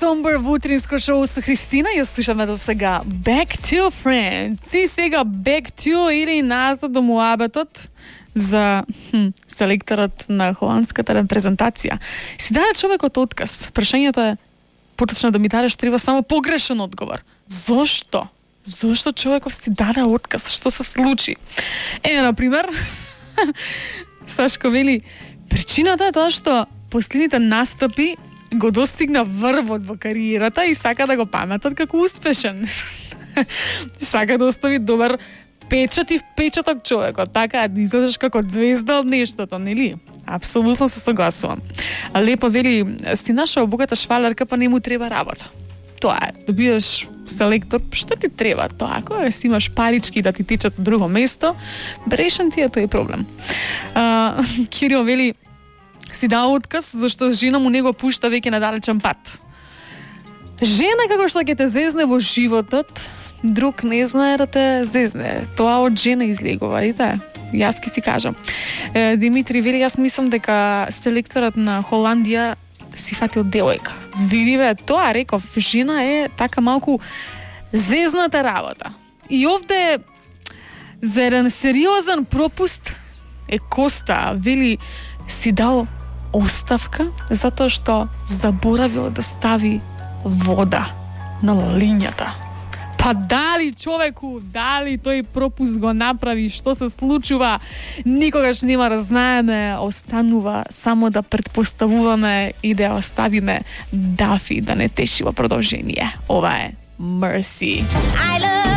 Somber во утринско шоу со Христина. Ја слушаме до сега Back to Friends. И сега Back to или назад до муабетот за селекторот на холандската репрезентација. Си даде човекот отказ. Прашањето е поточно да ми дадеш треба само погрешен одговор. Зошто? Зошто човеков си даде отказ? Што се случи? Например, Сашко вели, причината е тоа што последните настапи го достигна врвот во кариерата и сака да го паметат како успешен. Сака да остави добар печат и впечаток човекот, така да изгледаш како звезда од нештото, нели? Апсолутно се согласувам. Лепо вели, си нашao богата швалерка, па не му треба работа. Тоа е, добиеш селектор, што ти треба тоа? Кога си имаш парички да ти течат од друго место, брешен ти е тој проблем. Кирил вели, си дал отказ, зашто жена му не го пушта веќе на далечен пат. Жена како што ќе те зезне во животот, друг не знае да те зезне. Тоа од жена излегува, ите? Јас ке си кажам. Димитри вели, јас мислам дека селекторот на Холандија си фатил девојка. Види бе, тоа реков, жена е така малку зезната работа. И овде за еден сериозен пропуст е Коста, вели, си дал оставка затоа што заборавил да стави вода на лињата. Па дали човеку, дали тој пропуск го направи, што се случува, никогаш нема да знаеме, останува само да претпоставуваме и да оставиме Дафи да не теши во продолжение. Ова е Mercy.